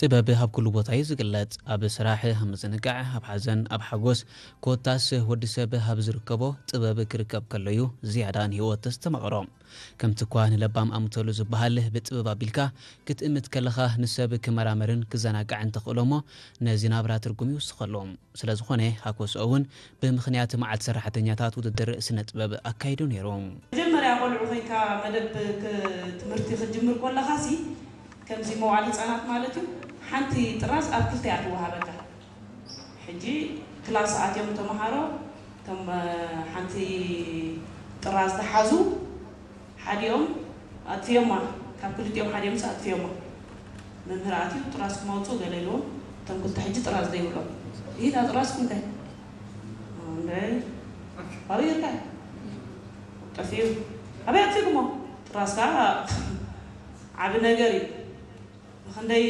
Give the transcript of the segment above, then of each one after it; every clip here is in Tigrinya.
ጥበብ ኣብ ኩሉ ቦታ እዩ ዝግለጽ። ኣብ ስራሕ፣ ኣብ ምዝንጋዕ፣ ኣብ ሓዘን፣ ኣብ ሓጎስ፣ ኮታስ ወዲ ሰብ ኣብ ዝርከቦ ጥበብ ክርከብ ከሎ እዩ ዝያዳ ንህይወት ተስተማቕሮ። ከምቲ እኳ ንለባም ኣምተሉ ዝበሃል፣ ብጥበብ ኣቢልካ ክትእምት ከለኻ ንሰብ ክመራመርን ክዘናጋዕን ተኽእሎ እሞ ነዚ ናብራ ትርጉም ይውስኸሉ። ስለ ዝኾነ ሃኮሶ እውን ብምኽንያት መዓልቲ ሰራሕተኛታት ውድድር ስነ ጥበብ ኣካይዱ ነይሩ። መጀመርያ ቆልዑ ኮይንካ መደብ ክ- ትምህርቲ ክትጅምር ከለኻ ሲ ከምዚ መዋዕለ ህፃናት ማለት እዩ። ሓንቲ ጥራዝ ኣብ ክልተ እያ ትወሃበካ። ሕጂ ክላስ ኣትዮም ተምሃሮ እቶም ሓንቲ ጥራዝ ዝሓዙ ሓዲኦም ኣጥፍዮማ፣ ካብ ክልቲኦም ሓዲኦም ኣጥፍዮማ። መምህር ኣትዩ ጥራዝኩም ኣውፅኡ ገለ ኢልዎም። እቶም ክልተ ሕጂ ጥራዝ ዘይብሎም ይዳ ጥራዝኩም ከ እንደ ኣበይ ይርካ ጠፍዩ ኣበይ ኣጥፊኩሞ? ጥራዝካ ዓቢ ነገር እዩ። ንክንደይ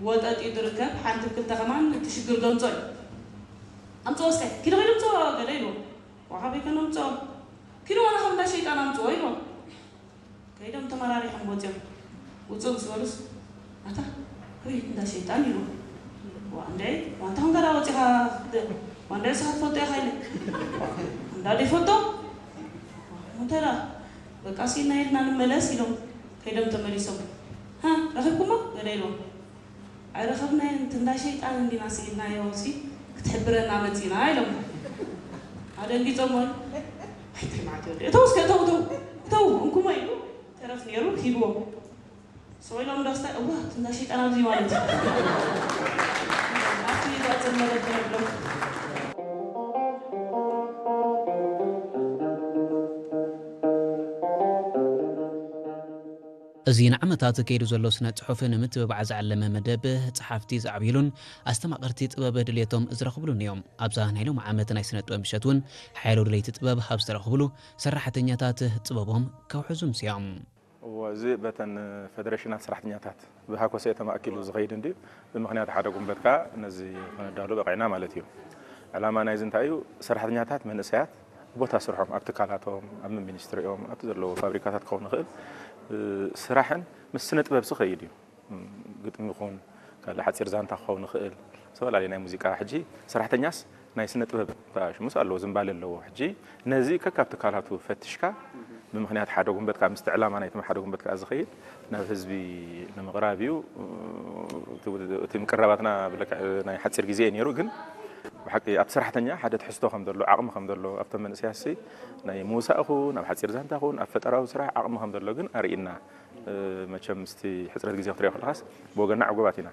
ወጠጥ እዩ ዝርከብ። ሓንቲ ክልተ ከማን እቲ ሽግር ገንጾ እዩ። ኣምፅኦ እስከ ኪዶ ኪዶ ኣምፅኦ ገለ ኢልዎ። ዋካ በይከን ኣምፅኦ ኪዶ ዋላ ከም እንዳ ሸይጣን ኣምፅኦ ኢልዎ። ከይዶም ተመራሪሖም ወፂኦም። ውፁ ምስ በሉስ ኣታ ወይ እንዳ ሸይጣን ኢሉ። ዋ እንደ ዋንታ ከም ገዳ ወፂኻ ክትደ ዋንዳ ስኻ ትፈልጦ ኢኻ ኢለ እንዳ ደይፈልጦ ሙተራ በቃ ሲና ኢልና ንመለስ ኢሎም ከይዶም ተመሊሶም። ሃ ረኺብኩሞ ገለ ኢልዎም። ኣይረኸብናዮን፣ እቲ እንዳ ሸይጣን እንዲና ስኢልናዮ ሲ ክትሕብረና መፂና ኢሎም ኣደንጊፆም። ወይ ኣይትልማዓት ወዲ እተው እስከ እተው እተው እተው እንኩሞ ኢሉ ተረፍ ነይሩ ሂብዎም። ሰው ኢሎም ደስታ እዋ እቲ እንዳ ሸይጣን ኣብዚ ማለት እዩ። ኣብቲ ይዛፅር መደብ ነብሎም። እዚ ንዓመታት ከይዱ ዘሎ ስነ ጽሑፍ ንምትብባዕ ዝዓለመ መደብ፣ ጸሓፍቲ ዝዓብይሉን ኣስተማቐርቲ ጥበብ ድልየቶም ዝረኽብሉን እዮም። ኣብዛ ናይ ሎሚ ዓመት ናይ ስነ ጥበብ ምሸት እውን ሓያሎ ደለይቲ ጥበብ ኣብ ዝተረኽብሉ፣ ሰራሕተኛታት ጥበቦም ከውሕዙ ምስዮም። እዎ፣ እዚ በተን ፈደሬሽናት ሰራሕተኛታት ብሃኮሰ ተማእኪሉ ዝኸይድ እንድዩ። ብምኽንያት ሓደ ጉንበት ከኣ ነዚ ክነዳሉ በቒዕና ማለት እዩ። ዕላማ ናይዚ እንታይ እዩ? ሰራሕተኛታት መንእሰያት ቦታ ስርሖም፣ ኣብ ትካላቶም፣ ኣብ ሚኒስትሪኦም፣ ኣብቲ ዘለዉ ፋብሪካታት ክኸውን ይኽእል፣ እ፣ ስራሕን ምስ ስነ ጥበብ ዝኸይድ እዩ። እም፣ ግጥሚ ይኹን፣ ካልእ ሓጺር ዛንታ ክኸውን ይኽእል፣ ዝተፈላለዩ ናይ ሙዚቃ። ሕጂ ሰራሕተኛስ ናይ ስነ ጥበብ ተኣሽሙስ ኣለዎ፣ ዝንባሌ ኣለዎ። ሕጂ ነዚ ከካብ ትካላቱ ፈትሽካ፣ ብምኽንያት ሓደ ጉንበት ከኣ፣ ምስቲ ዕላማ ናይቶም ሓደ ጉንበት ከኣ ዝኸይድ፣ ናብ ህዝቢ ንምቕራብ እዩ። እቲ፣ እቲ ምቅራባትና ብልክዕ ናይ ሓጺር ግዜ እዩ ነይሩ፣ ግን ብሓቂ ኣብቲ ሰራሕተኛ ሓደ ትሕዝቶ ከም ዘሎ፣ ዓቕሚ ከም ዘሎ፣ ኣብቶም መንእሰያትሲ ናይ ምውሳእ ይኹን፣ ኣብ ሓጺር ዛንታ ይኹን፣ ኣብ ፈጠራዊ ስራሕ ዓቕሚ ከም ዘሎ ግን ኣርኢና። እ፣ መቸም ምስቲ ሕጽረት ግዜ ክትሪኦ ከለኻስ ብወገንና ዕጉባት ኢና።